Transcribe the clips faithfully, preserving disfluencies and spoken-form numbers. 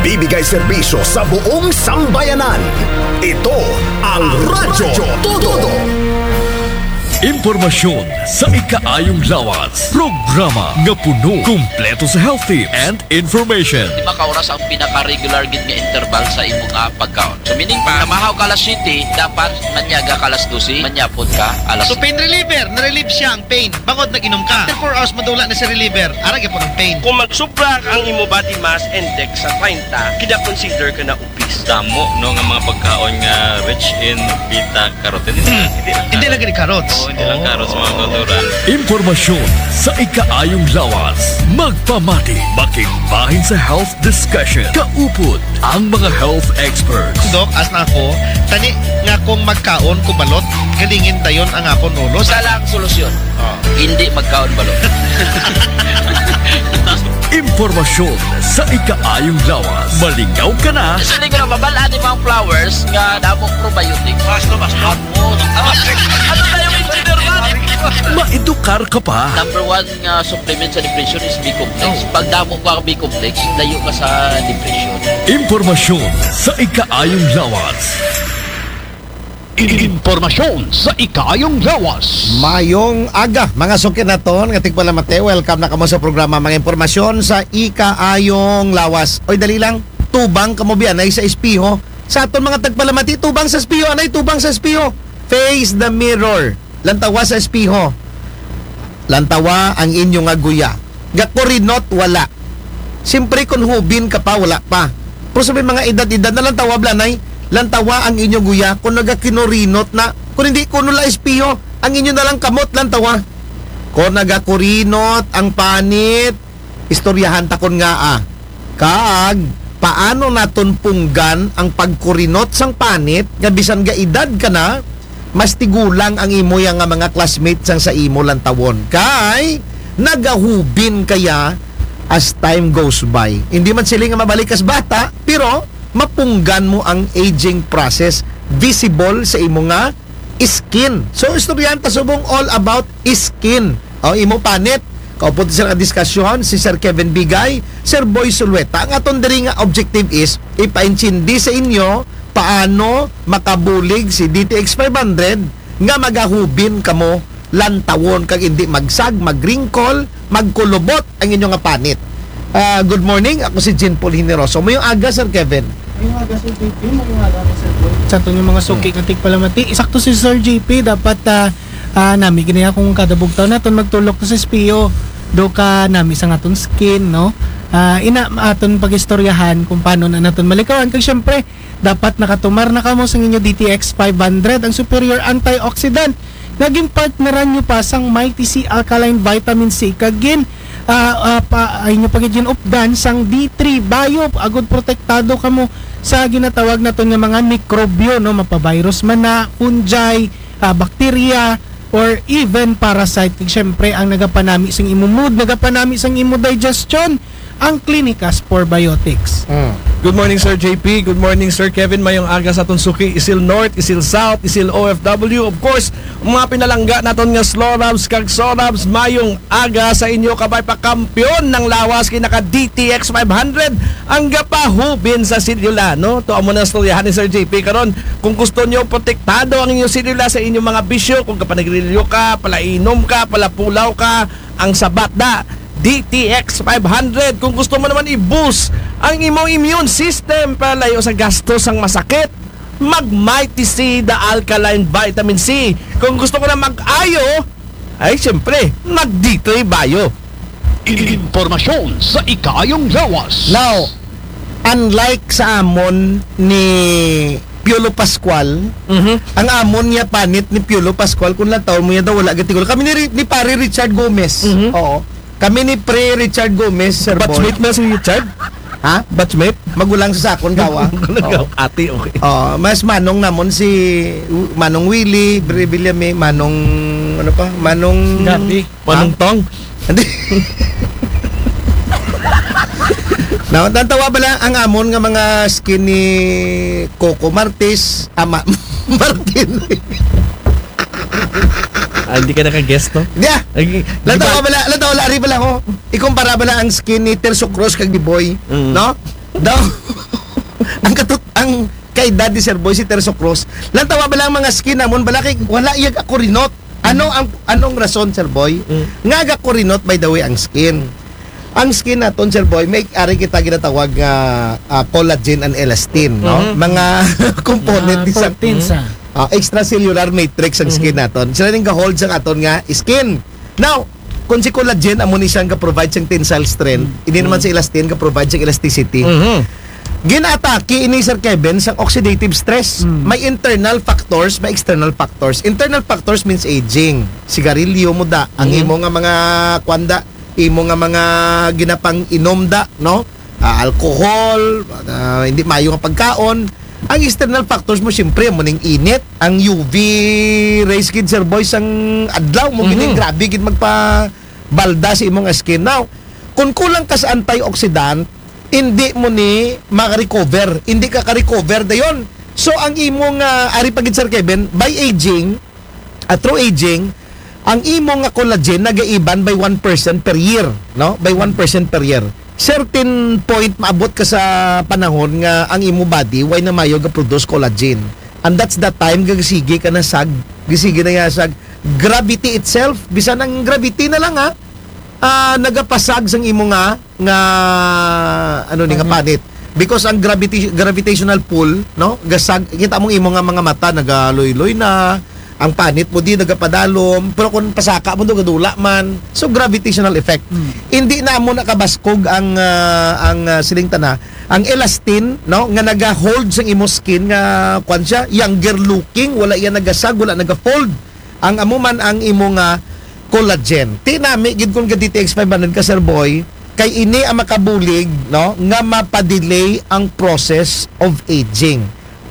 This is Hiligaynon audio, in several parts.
Ibigay serbisyo sa buong sambayanan. Ito ang Radyo Todo. Impormasyon sa ikaayong lawas. Programa nga puno, kumpleto sa health tips and information. Lima ka oras ang pinaka-regular gid nga interval sa imo nga pagkaon. So, meaning pa, namahaw ka alas siyete, dapat manyaga ka alas dose, manyapon ka alas So, pain reliever, na-relieve siya ang pain. Bangod nag-inom ka. After four hours, madula na si reliever. Ara gyapon ang pain. Kung magsubra ang imo body mass index sa treinta, kina-consider ka na obese. Damo, no, nga mga pagkaon nga rich in beta carotene. Hindi lang, hindi lang Hindi lang gani carrots. Oo, hindi lang Oh. carrots, mga kultura. Impormasyon sa ikaayong lawas. Magpamati, makigbahin sa health discussion. Kaupod ang mga health experts. Doc, as na ako, tani nga kung magkaon ko balot, galingin dayon ang akon ulo. Sa lang solusyon. Ah. Hindi magkaon balot. Impormasyon sa ikaayong lawas. Malingaw ka na. Actually, ko na mabal-an ni mga flowers nga damo probiotics. Mas to, mas to. Ano tayo, engineer, man? Maedukar ka pa. Number one nga supplement sa depression is B-complex. Oh. Pag damo ka B-complex, layo ka sa depression. Impormasyon sa ikaayong lawas. Impormasyon sa ikaayong lawas. Mayong aga, mga suki naton nga tigpalamati. Welcome na kamo sa programa, mga impormasyon sa ikaayong lawas. Oy, dali lang, tubang kamo biya anay sa espeho. Sa aton mga tagpalamati, tubang sa espeho, anay, tubang sa espeho. Face the mirror. Lantawa sa espeho. Lantawa ang inyo nga guya. Gakurinot, wala. Siyempre, kung hubin ka pa, wala pa. Pero sa may mga edad-edad na, lantawa, blanay, lantawa ang inyo guya kung nagakinurinot na. Kung hindi, kuno la espeho, ang inyo na lang kamot, lantawa. Kung nagakurinot ang panit, istoryahan ta kon ngaa. Kag paano naton punggan ang pagkurinot sang panit nga bisan ga edad ka na, mas tigulang ang imo ya nga mga classmates sang sa imo lantawon. Kay nagahubin ka ya as time goes by. Hindi man sila nga mabalik kas bata, pero mapunggan mo ang aging process visible sa imo nga skin. So, istoryahan ta subong all about skin. O, imo panit. Kaupod sa diskasyon si Sir Kevin Bigay, Sir Boy Sulueta. Ang aton diri nga objective is ipaintindi sa inyo paano makabulig si D T X five hundred nga magahubin kamo lantawon kag hindi magsag, magringkol, magkulubot ang inyo nga panit. Ah, good morning, ako si Jean Paul Generoso. Mayong aga, Sir Kevin. Mayong aga, Sir J P. Mayong aga, Sir Boy. Sa aton nga mga suki Hmm. nga tigpalamati, sakto si Sir J P, dapat, ah, ah, nami gani akong kada bugtaw naton magtulok sa espeho, do ka nami sa aton skin, no? Ah, ina aton pag-istoryahan kung paano na naton malikawan. Kag syempre, dapat nakatumar na kamo sa inyo D T X five hundred, ang superior antioxidant nga ginpartneran nyo pa sang Mighty C Alkaline Vitamin C, kag gin, ah, ah, pa, ay nyo pa gid ginupdan sang D three Bio, agud protektado kamo sa ginatawag naton nga mga mikrobyo, no, mapavirus man na, fungi, ah, bakterya, or even parasite. Kag syempre, ang nagapanami sang imo mood, nagapanami sang imo digestion, ang Clinicas Probiotics. Mm. Good morning, Sir J P. Good morning, Sir Kevin. Mayong aga sa aton suki, Isil North, Isil South, Isil O F W. Of course, ang mga pinalangga naton nga Slorabs kag Sorabs, mayong aga sa inyo. Kabay pa, kampiyon ng lawas kay naka D T X five hundred ang gapahubin sa selula, no? To amo na istoryahan ni Sir J P karon. Kung gusto nyo protektado ang inyong selula sa inyong mga bisyo, kung kapanagrilyo ka, palainom ka, palapulaw ka, ang sabat da, D T X five hundred. Kung gusto mo naman i-boost ang imong immune system para layo sa gastos sang masakit, mag Mighty C, the alkaline vitamin C. Kung gusto ko na mag-ayo, ay siyempre, mag D three Bio. Impormasyon sa ikaayong lawas. Now, unlike sa amon ni Piolo Pascual, Mhm. ang amon niya panit ni Piolo Pascual, kung lantawon mo niya daw, wala gatigol. Kami ni Ri-, ni Pare Richard Gomez. Mhm. Oo. Kami ni Pre Richard Gomez, Sir Boy. Batchmate na si Richard? Ha? Batchmate? Magulang sa sakon, gawa. Magulang Oo. Ate, okay. Oo, mas manong namon si W-, Manong Willie, Bre Villame, Manong, ano pa? Manong Gabi. Manong Ha? Tong? Hindi. Na, natawa pala ang amon nga mga skin ni Coco Martis, ama, Martin. Ah, hindi ka naka-guest, no? Yeah. Ay, di Lantaw ba ka bala, lantaw wala, ari bala ko. Ikumpara bala ang skin ni Terso Cruz kag ni Boy, Mm. no? Daw, ang katut ang kaedad ni Sir Boy si Terso Cruz. Lantawa ba lang mga skin namon bala kay wala iya gakurinot. Ano ang anong rason, Sir Boy? Mm. Nga gakurinot, by the way, ang skin. Ang skin naton, Sir Boy, may ari kita ginatawag nga ah, collagen and elastin, no? Mhm. Mga component Mga ni sa proteins, ah. ah, extracellular matrix ang skin naton. Sila ning ga-hold sa aton nga skin. Now, kung si collagen amo ni siyang ga-provide sang tensile strength, hindi naman si elastin ga-provide sang elasticity. Mhm. Ginatake ini, Sir Kevin, sang oxidative stress. Mm. May internal factors, may external factors. Internal factors means aging. Sigarilyo mo da, ang imo nga mga kwanda, imo nga mga ginapang-inom da, no? Ah, alcohol, ah, hindi mayo nga pagkaon. Ang external factors mo, siyempre, mo ning init, ang U V rays gid, Sir Boy, sang adlaw mo gid Mhm. grabe gid magpabalda sa imong skin. Now, kung kulang ka sa antioxidant, hindi mo ni maka-recover. Hindi ka ka-recover dayon. So, ang imong ah, ari pa gid, Sir Kevin, by aging, ah, through aging, ang imo nga collagen nagaiban by one percent per year, no? By one percent per year. Certain point, maabot ka sa panahon nga ang imo body way na mayo ga-produce collagen. And that's the time nga gisigi ka na sag, gisigi na ya sag gravity itself, bisan ang gravity na lang, ha, ah, nagapasag sang imo nga, nga, ano ni, nga Panit. Panit. Because ang gravity, gravitational pull, no, gasag, kita mong imo nga mga mata nagaluy-luy na, ang panit mo di nagapadalom, pero kung pasaka mo do, gadula man. So, gravitational effect. Hmm. Hindi na mo nakabaskog ang, ah, ang, ah, siling tana, ang elastin, no, nga nagahold sang imo skin nga, kwan siya, younger looking, wala iya nagasag, wala nagafold. Ang amo man ang imo nga collagen. Ti nami gid kung ga D T X five hundred ka, Sir Boy, kay ini ang makabulig, no, nga mapadelay ang process of aging.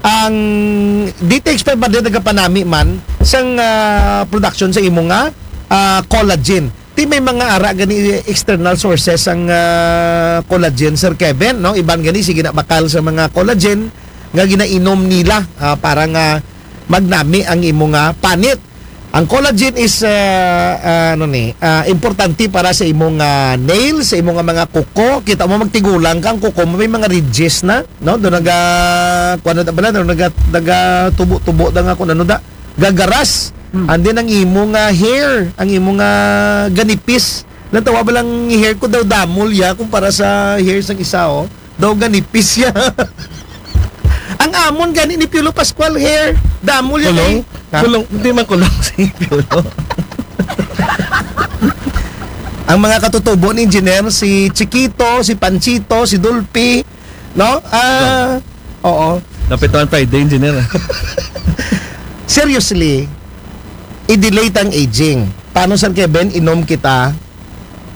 Ang D T X five hundred nagapanami man sang ah, production sa imo nga ah, collagen. Ti may mga ara gani external sources ang ah, collagen, Sir Kevin, no? Iban gani sige na bakal sa mga collagen nga ginainom nila ah, para nga magnami ang imo nga panit. Ang collagen is ah, ah, ano ni, ah, importante para sa imo nga nails, sa imo nga mga kuko. Kita mo magtigulang ka, ang kuko mo may mga ridges na, no? Do naga kuan na bala, do naga nagatubo-tubo da nga kun ano da, gagaras. Hmm. And then ang imo nga hair, ang imo nga ganipis. Natawa ba lang hair ko daw damol ya kumpara sa hair sang isa, oh? Daw ganipis siya. Ang amon gani ni Piolo Pascual hair. Damo yan Kulong? eh. Ha? Kulong, hindi man kulong si Piolo. Ang mga katutubo ni Engineer, si Chiquito, si Panchito, si Dolphy, no? Ah, oo. Napituan Friday, Engineer. Seriously, i-delay tang aging. Paano, Sir Kevin, inom kita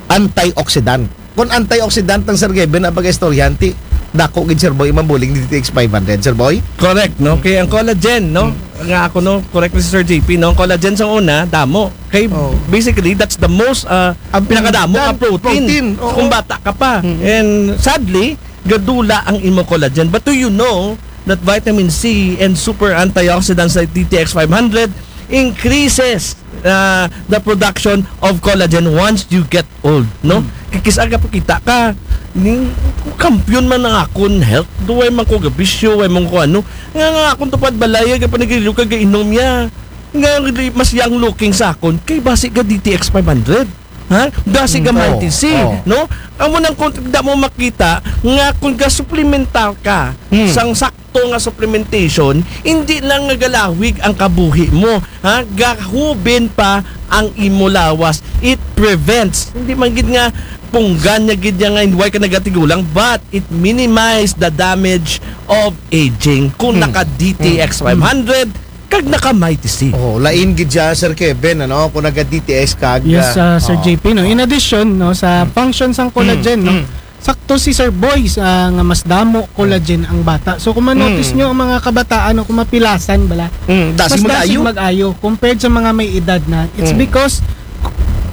antioxidant? Kung antioxidant ng Sir Kevin ang pag-istoryahan, ti dako gid, Sir Boy, mabuling D T X five hundred, Sir Boy? Correct, no? Kaya ang collagen, no? Nga ako, no? Correct ni Sir J P, no? Ang collagen sa una, damo. Kay Oh. basically, that's the most, ah, Abundant pinakadamo nga protein. protein, oo. Kung bata ka pa. Mm. And sadly, gadula ang imo collagen. But do you know that vitamin C and super antioxidants like D T X five hundred increases uh, the production of collagen once you get old, no? Hmm. Kikis-a ka pakita ka, ning kampiyon man ang akon health, duway man ko gabisyo, way man ko ano, nga nga akon tupad balay, ga panigilyo ka gainom niya, nga mas young looking sa akon, kay basi ga D T X five hundred. Ha? Basi ga Mm, Mighty oo, C, oo. no? Amo nang kung da mo makita nga kung ga-supplementar ka Mm. sang sakto nga supplementation, hindi lang nga galawig ang kabuhi mo, ha? Gahubin pa ang imo lawas. It prevents. Hindi man gid nga punggan niya gid niya nga why ka nagatigulang, but it minimize the damage of aging. Kung Mm. naka D T X Mm. five hundred, kag naka Mighty C. Oh, lain gid siya, Sir Kevin, ano, kung naga D T S kag, Yes, ah, uh, Sir oh. J P, no. In addition, no, sa Mm. function sang collagen, Mm. no, Mm. sakto si Sir Boy sa nga mas damo collagen ang bata. So kung ma-notice Mm. nyo ang mga kabataan, no, kung mapilasan bala, Mm, dasi mas mag-ayo. dasig mag-ayo compared sa mga may edad na. It's Mm. because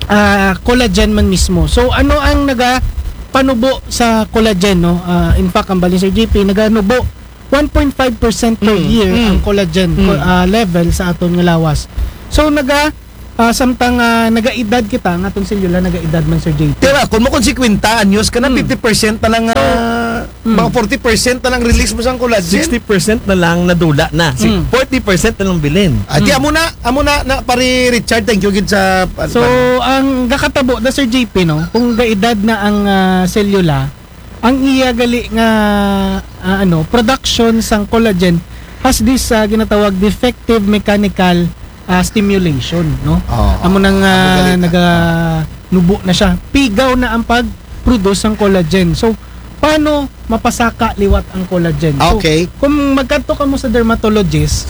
ah, collagen man mismo. So ano ang naga panubo sa collagen, no? Ah, in fact, ang bali, Sir J P, naganubo one point five percent per Mm, year mm. ang collagen Mm. co- ah, level sa aton nga lawas. So naga Ah, samtang, ah, nagaedad kita, nga atong selula nagaedad man, Sir J P. Tira, kung mo kon singkwenta anyos ka na, Mm. fifty percent na lang, ah, Mm. mga forty percent na lang release mo sang collagen. Sixty percent na lang nadula na. Si-, Mm. forty percent na lang bilin. Ah, di, Mm. amo na, amo na, na, pare Richard, thank you gid sa, So, ang gakatabo na, Sir J P, no, kung gaedad na ang, ah, selula, ang iya gali nga, ah, ano, production sang collagen has this, ah, ginatawag defective mechanical, ah, stimulation, no? Oo. Amo nang, Amo ah, gali na. Naganubo na siya. Pigaw na ang pag-produce sang collagen. So, paano mapasaka liwat ang collagen? So, Okay. kung magkadto ka mo sa dermatologist,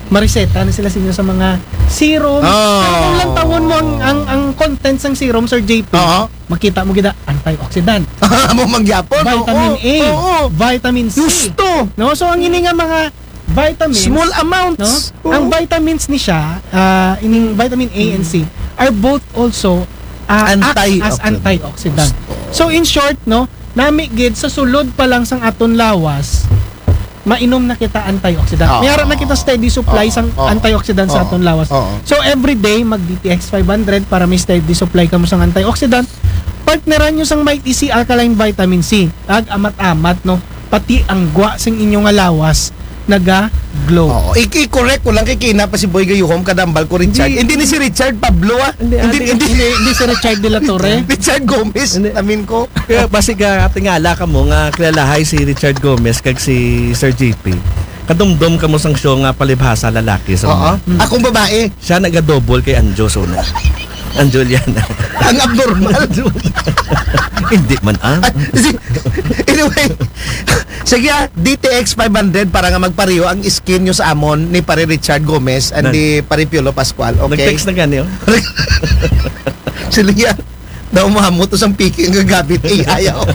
mareseta na sila sa inyo sa mga serum. Oh. Pero kung lantawon mo ang, ang, ang contents ng serum, Sir J P, Oo. makita mo gid na antioxidant. Amo mangyapon, Vitamin oo, A, oo. Vitamin C. Gusto. No? So, ang ini nga mga vitamins, Small amounts. No? Oo. Ang vitamins ni siya, ah, ining vitamin A and C Mm. are both also, ah, act as Antioxidant. antioxidant. Gusto. So, in short, no, nami gid sa sulod pa lang sang aton lawas, mainom na kita antioxidant. Oo. May ara na kita steady supply Oo. sang Oo. antioxidant sa Oo. aton lawas. Oo. So, every day, mag D T X five hundred para may steady supply kamo sang antioxidant. Partneran nyo sang Mighty C Alkaline Vitamin C. Ag amat-amat, no? Pati ang gwa sing inyo nga lawas naga-glow. Oo. I-, i-correct ko lang kay kina pa si Boy Gayuhom, kadambal ko, Richard. Hindi. Hindi ni si Richard Pablo, ah. Hindi, Hindi, hindi. hindi. Hindi, hindi si Richard de la Torre. Richard Gomez, Hindi. namin ko. Kaya basi ka, tingala ka mo nga kilalahay si Richard Gomez kag si Sir J P. Kadumdom ka mo sang show nga palibhasa lalaki sa Oo. mga. Mm. Akong babae. Siya nagadouble kay Anjo, so na. Ang Juliana. Ang abnormal. Hindi man, ah. Ay, si-, anyway, sige, ah, D T X five hundred para nga magpareho ang skin nyo sa amon ni Pare Richard Gomez and Nag- ni Pare Piolo Pascual, okay? Nag-text na gani, oh. Sila yan. Daw mahamot to sang piki nga gamit A I, oh.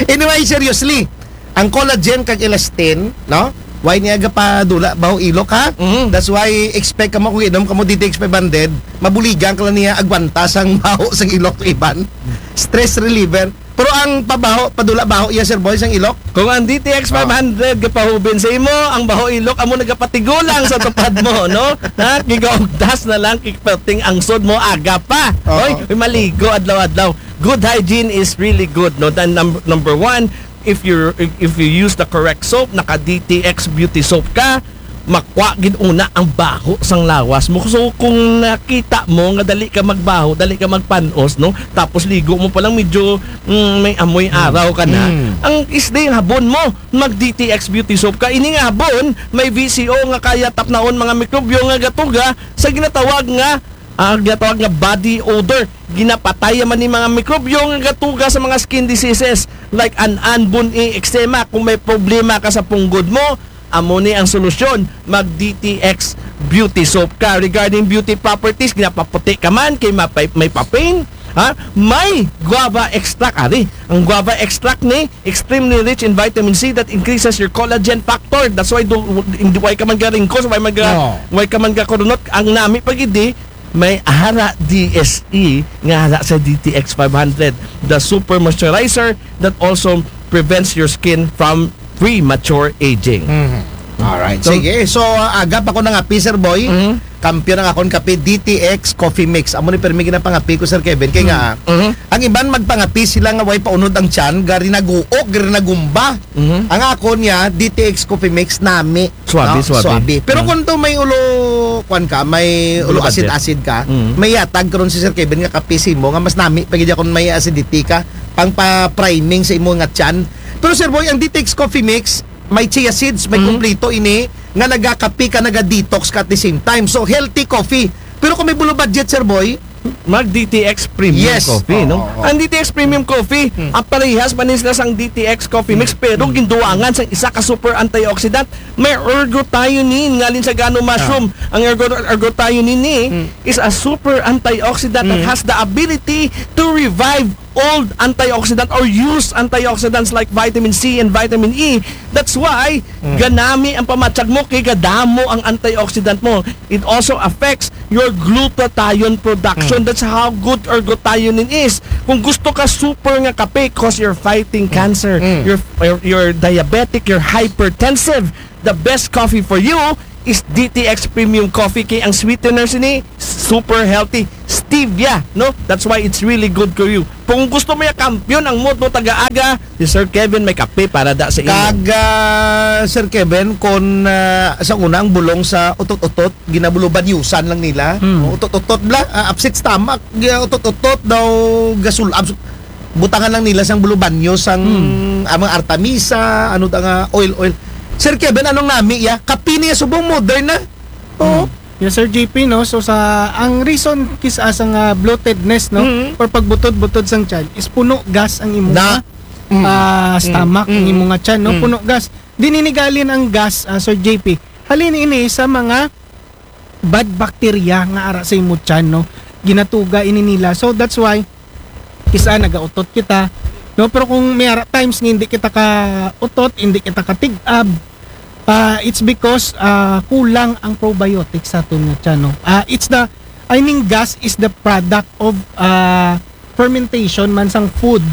Anyway, seriously, ang collagen kag elastin, no? Why niya gapadula baho ilok, ha? Mhm. That's why expect kamo kung inom kamo D T X five hundred, mabuligan ka lang niya agwanta sang baho sang ilok iban. Stress reliever. Pero ang pabaho, padula baho iya, Sir Boy, sang ilok? Kung ang D T X Oh. five hundred gapahubin sa imo, ang baho ilok amo nagapatigulang sa tupad mo, no? Ha? Gigaugdas na lang, kikperting angsod mo, aga pa. Oo. Oy, maligo adlaw-adlaw. Good hygiene is really good, no? Then num-, number one, if you, if, if you use the correct soap, naka D T X beauty soap ka, makwa gid una ang baho sang lawas mo. So, kung nakita mo nga dali ka magbaho, dali ka magpanos, no? Tapos ligo mo pa lang medyo, mm, may amoy Mm. araw ka na. Mm. Ang isda yung habon mo, mag D T X beauty soap ka. Ini nga habon, may V C O nga kaya tapnaon mga mikrobyo nga gatuga sa ginatawag nga, ah, ginatawag nga body odor. Ginapatay man ni mga mikrobyo nga gatuga sa mga skin diseases like an-an, bun-i, eczema. Kung may problema ka sa punggod mo, amo ni ang solusyon, mag D T X beauty soap ka. Regarding beauty properties, ginapaputi ka man kay mapay-, may papain, ha? May guava extract, ari. Ang guava extract ni extremely rich in vitamin C that increases your collagen factor. That's why do, hindi, why ka man garingkos, why man ga, Oo. why ka man gakurunot. Ang nami pagidi, may ara D S E nga ara sa D T X five hundred, the super moisturizer that also prevents your skin from premature aging. Mhm. Alright. So, sige. So, uh, aga pa ko nangapi, Sir Boy. Mhm. Kampiyon ang akon kape, D T X Coffee Mix. Amo ni permi ginapangapi ko, Sir Kevin. Kay nga, Mhm. ang iban magpangapi sila nga way paunod ang tiyan, gari naguok, gari nagumba. Mhm. Ang akon niya, D T X Coffee Mix, nami. Suabe, No? suabe. Suabe. Pero Mm. kung to may ulo, kwan ka, may Ulo ulo budget. Acid-acid ka, Mm. may yatag karon si Sir Kevin nga kape sa imo nga mas nami pa gid kung may acidity ka, pang pa-priming sa imo nga tiyan. Pero Sir Boy, ang D T X Coffee Mix, may chia seeds, may Mm. kompleto ini nga nagakape ka, naga-detox ka at the same time. So, healthy coffee. Pero kung may bulo budget, Sir Boy, Mag D T X Premium Yes. Coffee, no? Oo, oo. Ang D T X Premium Coffee, Hmm. ang parehas man ni sila sang D T X Coffee Mix, Hmm. pero Hmm. ginduwangan sang isa ka super antioxidant. May ergothioneine, ngalin sa gano mushroom. Ah. Ang ergo-, ergothioneine ni Hmm. is a super antioxidant that Hmm. has the ability to revive old antioxidant or use antioxidants like vitamin C and vitamin E. That's why Hmm. ganami ang pamatsag mo kay gadamo ang antioxidant mo. It also affects your glutathione production. Mm. That's how good ergothioneine is. Kung gusto ka super nga kape, 'cause you're fighting Mm. cancer, Mm. you're, you're, you're diabetic, you're hypertensive, the best coffee for you is D T X Premium Coffee, kay ang sweetener sini super healthy, stevia, no? That's why it's really good for you. Kung gusto mo ya kampiyon ang mood mo taga-aga, si Sir Kevin may kape para da sa inyo. Kag, ah, Sir Kevin, kon, ah, sa una ang bulong sa utot-utot, ginabulubanyusan lang nila. Hmm. O, utot-utot bla, ah, upset stomach, gi-, utot-utot daw gasul-, abs-, butangan lang nila sang bulubanyo sang, hmm, ah, mga artemisa, ano ta nga oil, oil. Sir Kevin, anong nami ya? Kape niya subong modern na. Oo. Mm. Yes, Sir J P, no? So, sa, ang reason kis-, ah, sa nga bloatedness, no? Mm. Or pagbutod-butod sang tiyan is puno gas ang imo Na. nga, Mm. ah, Mm. stomach, ang Mm. imo nga tiyan, no? Mm. Puno gas. Di nini galin ang gas, ah, Sir J P. Halin ini sa mga bad bacteria nga ara sa imo tiyan, no? Ginatuga ini nila. So, that's why, kis-a nagautot kita, no? Pero kung may ara times nga hindi kita ka utot, hindi kita katig-ab, ah, it's because, ah, kulang ang probiotics sa aton nga tiyan, no? Ah, it's the, I mean, gas is the product of, ah, fermentation man sang food,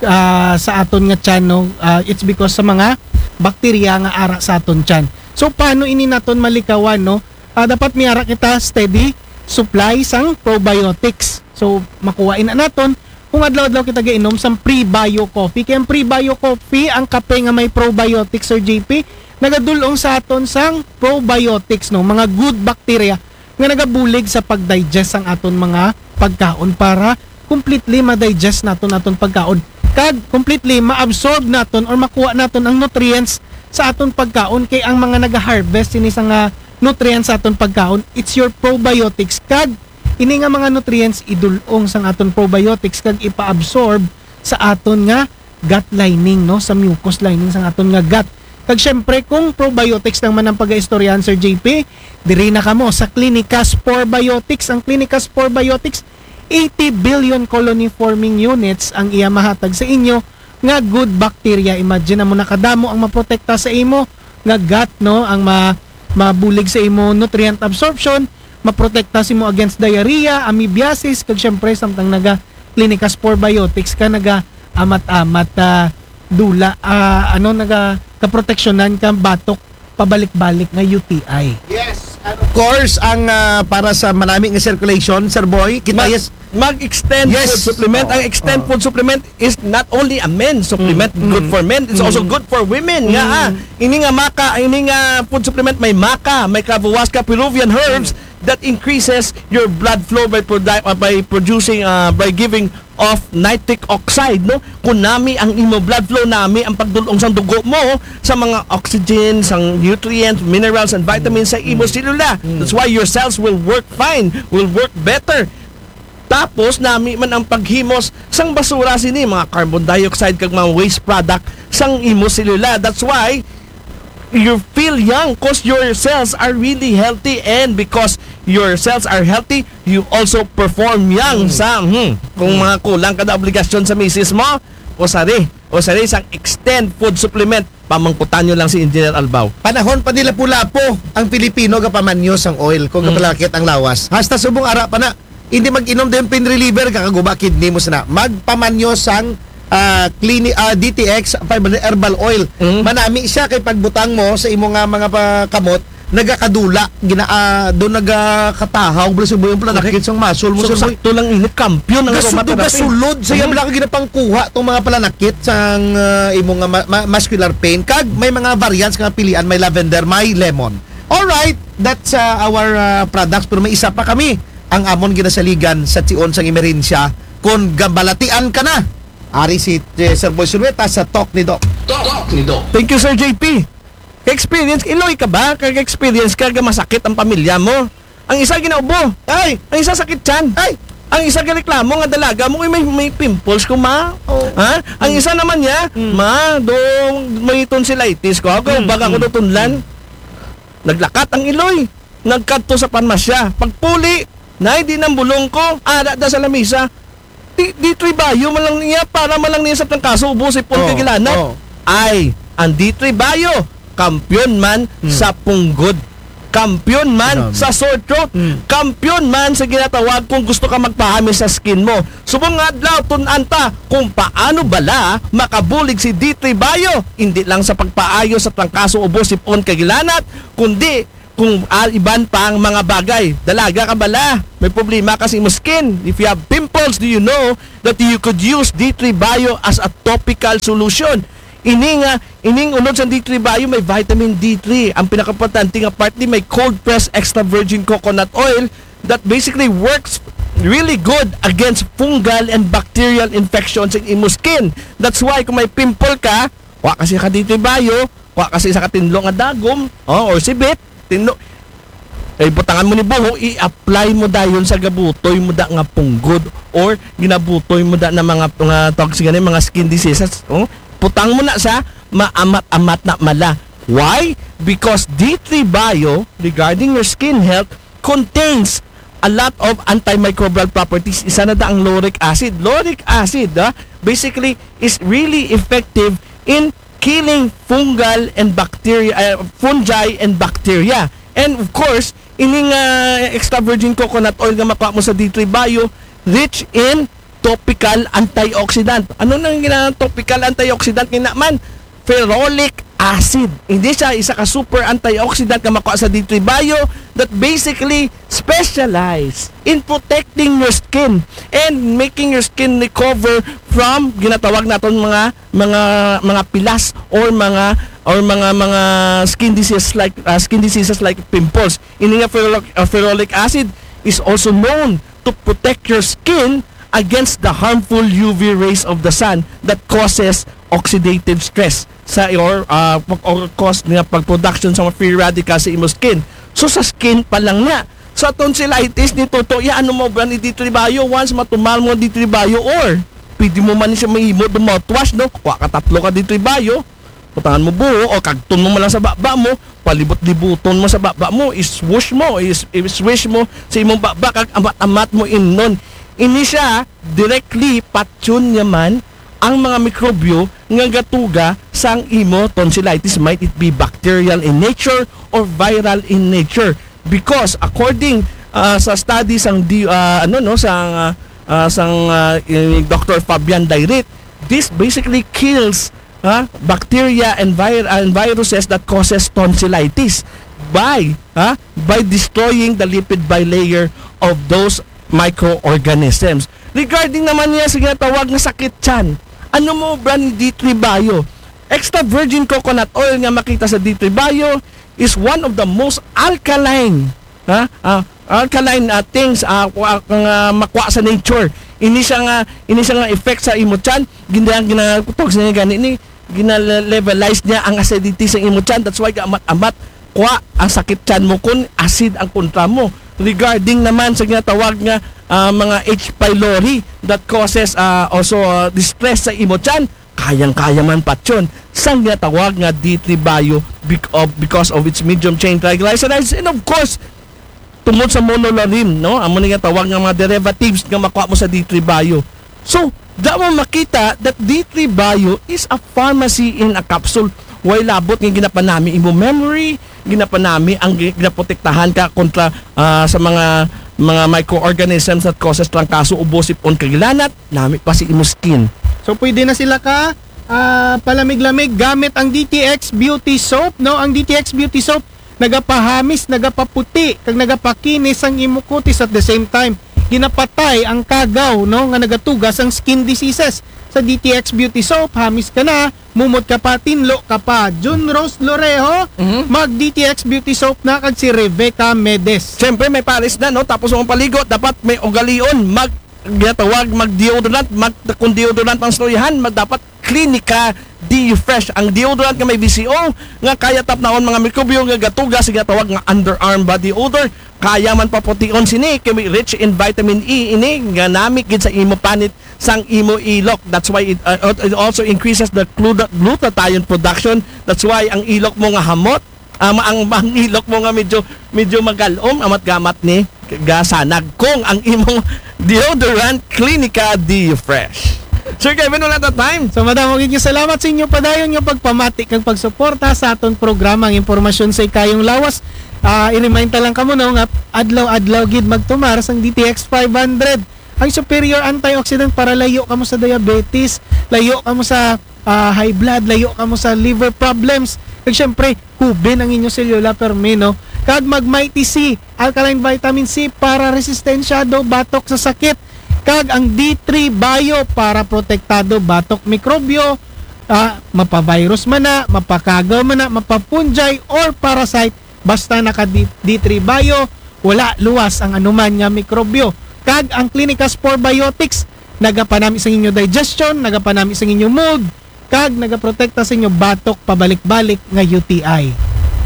ah, sa aton nga tiyan, no? Ah, it's because sa mga bakterya nga ara sa aton tiyan. So, paano ini naton malikawan, no? Ah, dapat may ara kita steady supply sang probiotics. So, makuha ina naton kung adlaw-adlaw kita gainom sang Prebio Coffee. Kay ang Prebio Coffee, ang kape nga may probiotics, Sir J P, nagadul-ong sa aton sang probiotics, no, mga good bacteria nga nagabulig sa pag-digest sang aton mga pagkaon para completely ma-digest naton aton pagkaon. Kag completely ma-absorb naton or makuha naton ang nutrients sa aton pagkaon, kay ang mga naga-harvest sini sa nga nutrients sa aton pagkaon, it's your probiotics. Kag ini nga mga nutrients idul-ong sang aton probiotics kag ipa-absorb sa aton nga gut lining, no, sa mucus lining sang aton nga gut. Kag syempre, kung probiotics lang man ang pag-istoryahan, Sir J P, diri na kamo sa Clinicas Probiotics. Ang Clinicas Probiotics, eighty billion colony forming units ang iya mahatag sa inyo nga good bacteria. Imagine mo na kadamo ang maprotekta sa imo nga gut, no, ang ma-, mabulig sa imo nutrient absorption, maprotekta sa imo against diarrhea, amoebiasis, kag syempre, samtang naga Clinicas Probiotics ka, naga amat-amat, ah, dula, ah, ano, naga kaproteksyonan ka batok pabalik-balik nga U T I. Yes, and of course, ang, ah, para sa manami nga circulation, Sir Boy, kita Mag-, yes. Mag-extend Yes. food supplement. Oo, Ang extend oo. food supplement is not only a men's supplement, Mm, good mm. for men, it's also Mm. good for women. Nga, Mm. ah, ini nga maca, ini nga food supplement may maca, may kavahuasca, Peruvian herbs Mm. that increases your blood flow by produ-, uh, by producing, uh, by giving off nitric oxide, no? Kung nami ang imo blood flow, nami ang pagdul-ong sang dugo mo sa mga oxygen, sang nutrients, minerals, and vitamins sa imo Mm. selula. Mm. That's why your cells will work fine, will work better. Tapos, nami man ang paghimos sang basura sini, mga carbon dioxide kag mga waste product sang imo selula. That's why you feel young, 'cause your cells are really healthy, and because your cells are healthy, you also perform young Mm. sa, hmm, kung Mm. mga kulang ka na obligasyon sa misis mo, o sari, o sari sang extend food supplement, pamangkutan nyo lang si Engineer Albao. Panahon pa ni Lapu-Lapu ang Pilipino gapamanyo sang oil kung Mm. gapalakit ang lawas. Hasta subong ara pa na, hindi mag-inom din pain reliever, kakaguba kidney mo sana. Magpamanyo sang, ah, clini-, ah, D T X five hundred herbal oil. Mm. Manami siya kay pagbutang mo sa imo nga mga pa-, kamot, nagakadula, gina-, ah, doon nagakatahaw, bala, suboy ang pananakit Correct. sang muscle mo, So, sir, boy. sakto lang ini, kampiyon ang Gasulod, aromatherapy. gasulod. Sa iya, Mm. bala ka ginapangkuha tong mga pananakit sang, ah, imo nga ma-, ma-, muscular pain. Kag may mga variants nga pilian, may lavender, may lemon. Alright, that's, ah, our, ah, products. Pero may isa pa kami, ang amon ginasaligan sa tion sang emerhensya. Kung gabalatian ka na, ari si, eh, Sir Boy Sinueta sa Talk ni Doc. Talk ni Doc. Thank you, Sir J P. Ka-experience, iloy ka ba? Ka-experience ka, ga masakit ang pamilya mo? Ang isa ginaubo. Ay! Ang isa sakit tiyan. Ay! Ang isa gareklamo nga dalaga mo, "Uy, may, may pimples ko, ma." Oh. Ha? Ang Mm. isa naman niya, Mm. "Ma, do, may tonsillitis ko. Ako, Mm, baga ko mm, do tunlan." mm. Naglakat ang iloy. Nagkadto sa parmasya. Pagpuli, "Nay, di nang bulong ko." Ara da sa lamisa. Di, di tribayo man lang niya, para man lang niya sa trangkaso, ubo, sipon, Oh, kagilanat. oh. Ay, ang di tribayo, kampiyon man Hmm. sa punggod. Kampiyon man Grabe. sa sore throat. Hmm. Kampiyon man sa ginatawag kung gusto ka magpahami sa skin mo. Subong nga adlaw, tun-an ta kung paano bala makabulig si D three Bio, hindi lang sa pagpaayo sa trangkaso, ubo, sipon, kagilanat, kundi kung, ah, iban pang mga bagay. Dalaga ka bala, may problema ka sa imo skin. If you have pimples, do you know that you could use D three Bio as a topical solution? Ini nga, ining unod sa D three Bio, may vitamin D three. Ang pinakaimportante nga part ni, may cold press extra virgin coconut oil that basically works really good against fungal and bacterial infections in imo skin. That's why kung may pimple ka, wa kasi ka D three Bio, wa kasi sa katinlo nga dagom, oh, or sibit, tinlo, ay butangan mo ni buho, i-apply mo dayon sa gabutoy mo da nga punggod or ginabutoy mo da na mga, mga tawag sa gani, mga skin diseases, oh. Putang mo na sa maamat-amat na mala. Why? Because D three Bio, regarding your skin health, contains a lot of antimicrobial properties. Isa na da ang lauric acid. Lauric acid, ah, basically, is really effective in killing fungal and bacteria, uh, fungi and bacteria. And of course, ining, ah, extra virgin coconut oil nga makuha mo sa D three Bio, rich in topical antioxidant. Ano nang gina-, topical antioxidant? Kina man, ferolic acid. Hindi siya isa ka super antioxidant nga makuha sa D three Bio that basically specialize in protecting your skin and making your skin recover from ginatawag naton mga, mga, mga pilas or mga, or mga, mga skin diseases like, uh, skin diseases like pimples. Ini nga ferolic, uh, ferolic acid is also known to protect your skin against the harmful U V rays of the sun that causes oxidative stress sa, or, uh, or cause nga pag-production sa mga free radical sa imo skin. So sa skin pa lang na. Sa tonsillitis ni Toto, ya, ano mo ba ni D three Bio? Once matumal mo D three Bio, or pwede mo man siya mahimo do mouthwash, no? Kuha ka tatlo ka D three Bio, butangan mo buho, o kagton mo man lang sa baba mo, palibot-libuton mo sa baba mo, iswoosh mo, is, iswish mo sa imong baba, kag amat-amat mo imnon. Ini siya, directly, patyon niya man ang mga mikrobyo nga gatuga sang imo tonsillitis, might it be bacterial in nature or viral in nature. Because according, ah, sa study sang di, ah, ano, no, sang, ah, ah, sang, ah, eh, Doctor Fabian Dairit, this basically kills, ah, bacteria and vir-, and viruses that causes tonsillitis by, ah, by destroying the lipid bilayer of those microorganisms. Regarding naman niya sa ginatawag nga sakit tiyan, ano mo ba ni D three Bio? Extra virgin coconut oil nga makita sa D three Bio is one of the most alkaline, ha? Ah, alkaline, ah, things, ah, wa-, nga makuha sa nature. Ini siya nga, ini siya nga effect sa imo tiyan. Gina-, ginatawag sa niya gani ni, gina-levelize niya ang acidity sa imo tiyan. That's why amat-amat kuha ang sakit tiyan mo kung acid ang kontra mo. Regarding naman sa ginatawag nga, ah, mga H. pylori that causes, ah, also, ah, distress sa imo tiyan, kayang-kaya man patyon sang ginatawag nga D three Bio bec-, of, because of its medium chain triglycerides, and of course, tungod sa monolaurin, no? Amo ni nga tawag nga mga derivatives nga makuha mo sa D three Bio. So, da mo makita that D three Bio is a pharmacy in a capsule. Way labot nga ginapanami imo memory, ginapanami ang gi-, ginaprotektahan ka kontra, ah, sa mga, mga microorganisms that causes trangkaso, ubo, sip-on, kag hilanat, nami pa si imo skin. So, pwede na sila ka, ah, palamig-lamig gamit ang D T X Beauty Soap, no? Ang D T X Beauty Soap nagapahamis, nagapaputi, kag nagapakinis ang imo kutis at the same time. Ginapatay ang kagaw, no, nga nagatuga sang skin diseases. Sa D T X Beauty Soap, hamis ka na, mumot ka pa, tinlo ka pa. Jun Rose Loreho, Mhm. mag D T X Beauty Soap na, kag si Rebecca Medes. Siyempre, may pares na, no? Tapos ang paligo, dapat may ugalion. Mag, ginatawag, mag deodorant. Mag, kung deodorant ang istoryahan, mag, dapat Clinica Deo Fresh, ang deodorant nga may V C O nga kaya tapnaon mga mikrobyo nga gatuga sa ginatawag nga underarm body odor. Kaya man papution sini kay may rich in vitamin E ini nga nami gid sa imo panit sang imo ilok. That's why it, uh, it also increases the gluta-, glutathione production. That's why ang ilok mo nga hamot, ang, ang, ang ilok mo nga medyo, medyo magalom, amat gamat ni gasanag kung ang imong deodorant Clinica Deo Fresh. Sir Kevin, wala ta time. So, madamo gid nga salamat sa inyo padayon nga pagpamati kag pagsuporta sa aton programa, ang impormasyon sa ikayong lawas. Ah, i-remind ta lang kamo, no, nga adlaw-adlaw gid magtumar sang D T X five hundred. Ang superior antioxidant para layo kamo sa diabetes, layo kamo sa, ah, high blood, layo kamo sa liver problems. Kag syempre, hubin ang inyong selula permi, no? kag mag Mighty C, alkaline vitamin C para resistensyado batok sa sakit, kag ang D three Bio para protektado batok mikrobyo, ah, mapa-virus man na, mapakagaw man na, mapa-fungi or parasite, basta naka D-, D three Bio, wala luwas ang anuman nga mikrobyo. Kag ang Clinicas Probiotics, nagapanami sa inyo digestion, nagapanami sa inyo mood, kag nagaprotekta sa inyo batok pabalik-balik nga U T I.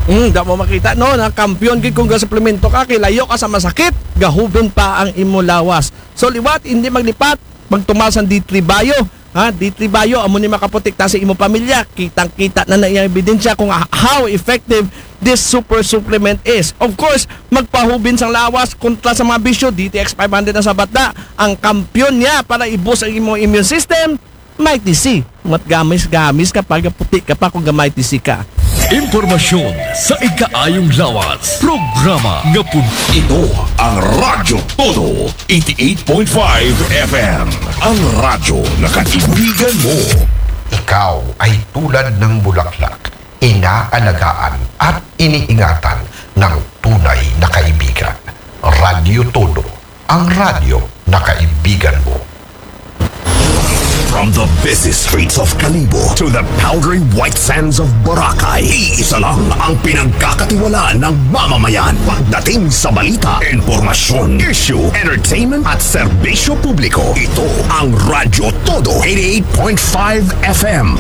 Mm, da mo makita, no, na kampiyon gid kung gasuplemento ka, kay layo ka sa masakit, gahubin pa ang imo lawas. So, liwat, hindi maglipat, magtumal sang D three Bio. Ha, D three Bio, amo ni makaprotekta sa imo pamilya. Kitang-kita na na iyang ebidensya kung ha-, how effective this super supplement is. Of course, magpahubin sang lawas kontra sa mga bisyo, D T X five hundred na sa bata. Ang kampiyon niya para i-boost ang imong immune system, Mighty C. Mat gamis-gamis ka pa, gaputi ka pa kung ga Mighty C ka. Impormasyon sa ikaayong lawas. Programa nga pun- Ito ang Radyo Todo, eighty-eight point five F M. Ang radyo na kaibigan mo. Ikaw ay tulad ng bulaklak, inaalagaan at iniingatan ng tunay na kaibigan. Radyo Todo, ang radyo na kaibigan mo. From the busy streets of Kalibo to the powdery white sands of Boracay, iisa lang ang pinagkakatiwalaan ng mamamayan. Pagdating sa balita, impormasyon, issue, entertainment at serbisyo publiko, ito ang Radyo Todo, eighty-eight point five F M.